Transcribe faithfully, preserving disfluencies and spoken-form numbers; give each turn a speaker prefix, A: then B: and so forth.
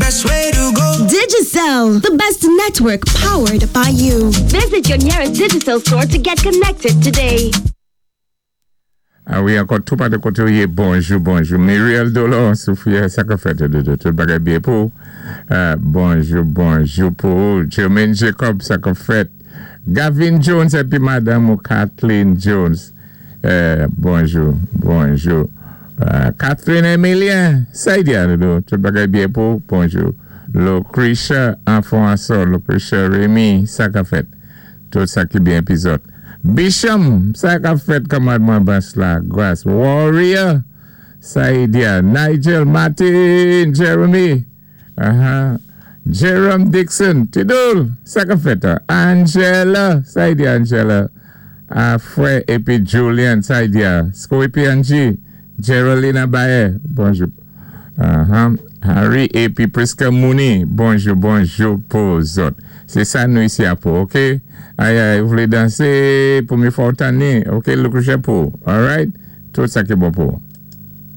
A: best way to go.
B: Digicel, the best network powered by you.
C: Visit your nearest Digicel store to get connected today.
D: A wi, ankò tou pa de koté ou yé, bonjou, bonjou. Muriel Dolor, Sophia, sa ka fèt de, de, tout bagay byen pou. Euh, bonjou, bonjou pou Jermaine Jacob, sa ka fèt. Gavin Jones épi madanm ou Kathleen Jones. Euh, bonjou, bonjou. Euh, Catherine Emilien, sa y dodo, tout bagay byen pou, bonjou. Lucretia Anfonso, Lucretia Remy, sa ka fèt. Tout sa ki byen épi zòt. Bisham, sa ka fèt kòmandman bas la, Grace. Warrior, Saïdia, Nigel, Martin, Jeremy, uh-huh. Jerome Dixon, Tidul, sa ka fèt. Angela, Saïdia Angela, Afre épi Julian, Saïdia, Scoopy Angie, Geraldine Baye, bonjou. Uh-huh. Harry épi Priska Mooney, bonjou, bonjou pou zòt. Sé sa nou isi a pou, ok? Ay, ay, ou vlé dansé pou mi fò tanné, ok? Look pou, alright? Tout sa ki bon pou.